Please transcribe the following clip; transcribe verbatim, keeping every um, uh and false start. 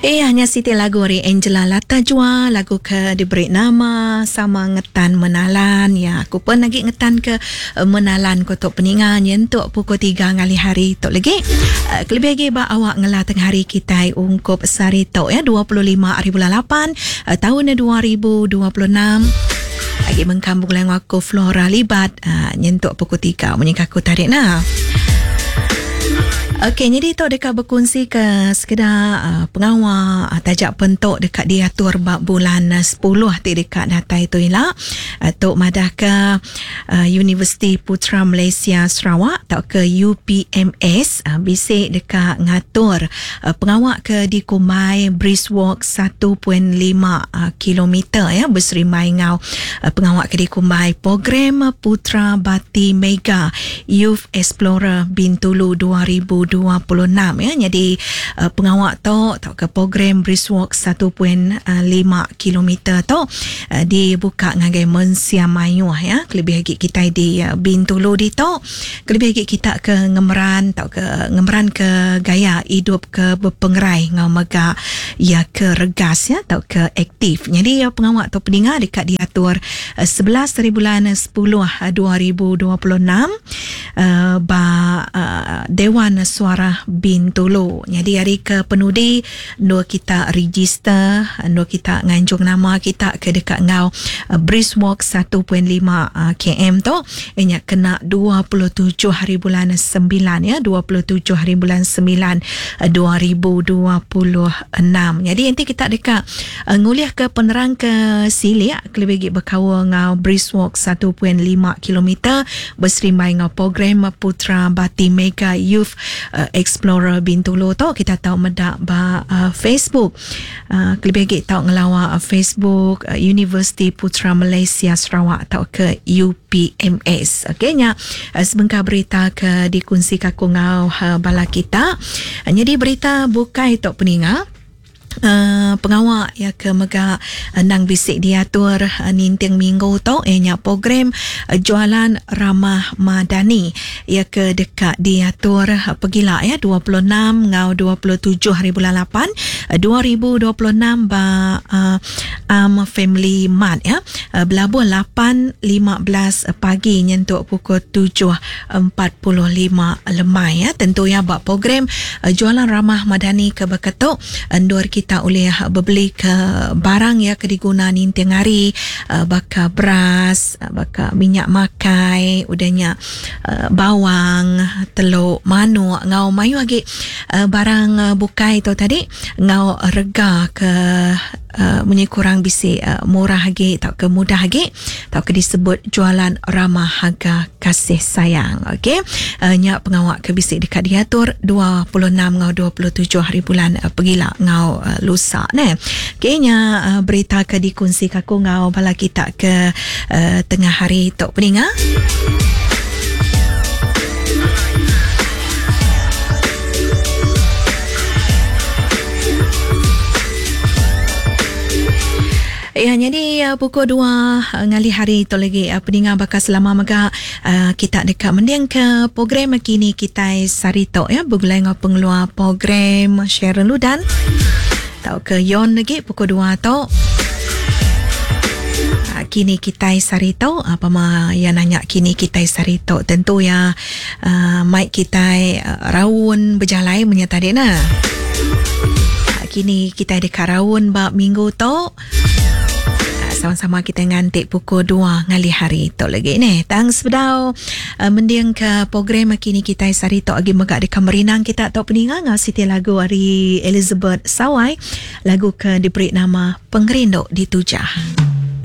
Eh hanya siti lagu ari Angela Lata Jua, lagu ke diberi nama sama ngetan menalan. Ya, aku pun lagi ngetan ke menalan ko tok peninga nyentuk pukul tiga ngalih hari tok lagi. Uh, kelebih lagi ba awak ngela tengah hari kita ungkup sehari tok ya dua puluh lima hari bulan lapan uh, tahun dua ribu dua puluh enam. Lagi mengkam bulan aku Flora Libat uh, nyentuk pukul tiga menyingkah aku tarik nah. Okey, jadi tu dekat berkongsi ke sekedar uh, pengawal uh, tajak pentok dekat diatur bab bulan uh, sepuluh ti dekat datai tu ila. Uh, tok madah ke uh, Universiti Putra Malaysia Sarawak atau ke U P M S uh, bisik dekat ngatur uh, pengawal ke di Kumai Brisk Walk satu perpuluhan lima uh, kilometer ya berserimai ngau uh, pengawal ke di Kumai program Putra Bati Mega Youth Explorer Bintulu dua ribu dua puluh enam ya. Jadi uh, pengawal tu atau ke program Brisk Walk satu perpuluhan lima kilometer tu uh, dibuka ngagai mensia mayuh ya. Kelebih lagi kita di uh, Bintulu di tu, kelebih lagi kita ke ngemeran atau ke ngemeran ke gaya hidup ke berpengerai ngau mega ya ke regas ya atau ke aktif. Jadi uh, pengawal tu peninga dekat diatur uh, sebelas hari bulan sepuluh dua ribu dua puluh enam uh, ba uh, Dewan Suara Bintulu. Jadi hari ke penudi dua kita register, dua kita nganjung nama kita ke dekat ngau uh, Brisk Walk satu perpuluhan lima uh, kilometer tu ianya kena dua puluh tujuh hari bulan sembilan ya, dua puluh tujuh hari bulan sembilan dua ribu dua puluh enam. Jadi nanti kita dekat uh, nguliah ke penerang ke silik kelebih lagi berkawal ngau Brisk Walk satu perpuluhan lima kilometer berserimbai ngau program Putra Bati Mega Youth Uh, Explorer Bintulu tu kita tahu medak ba uh, Facebook. Uh, kelebih lagi tahu ngelawa uh, Facebook uh, Universiti Putra Malaysia Sarawak atau ke U P M S. Okey nya uh, sebengkah berita ke dikongsi kaku ngau uh, bala kita. Uh, jadi berita bukai tok peninga. Uh, pengawal ya ke mega uh, nang bisik diatur uh, ninting minggu tu ianya program uh, jualan ramah madani ya ke dekat diatur uh, pergila ya dua puluh enam ngau dua puluh tujuh hari bulan lapan uh, dua ribu dua puluh enam ba uh, Am Family Mart ya uh, berlabuh lapan lima belas pagi nyentuk pukul tujuh empat puluh lima lemai ya. Tentu ya ba program uh, jualan ramah madani ke berketuk endur kita kita boleh berbeli ke barang ya ke diguna ninting hari uh, baka beras, baka minyak makai, udahnya uh, bawang, telur, manuk, ngau mayu lagi uh, barang uh, bukai tu tadi ngau rega ke uh, munyi kurang bisi uh, murah lagi atau ke mudah lagi atau ke disebut jualan ramah harga kasih sayang. Okey, uh, nyak pengawak ke bisi dekat diatur dua puluh enam ngau dua puluh tujuh hari bulan uh, pergila ngau uh, lusa ne. Okey, nya uh, berita ke dikongsi kaku ngau bala kita ke uh, tengah hari tok peninga. Ya, jadi uh, pukul dua uh, ngalih hari tu lagi uh, peninga bakal selama mega uh, kita dekat mending ke program kini kita sarito ya bergulai ngau pengeluar program Sharon Ludan tau ke Yon lagi pukul dua tu. Kini kita sarito apa ma ya nanya kini kita sarito tentu ya uh, mic kita uh, raun berjalai menyata nah. Kini kita dekat raun bab minggu tu. Sama-sama kita ngantik pukul dua ngalih hari tu lagi ni. Tang sebedau uh, mending ke program kini kita sari tok agi megak dekat merinang kita tok peninga ngau siti lagu ari Elizabeth Sawai, lagu ke diberi nama Pengerindu Ditujah.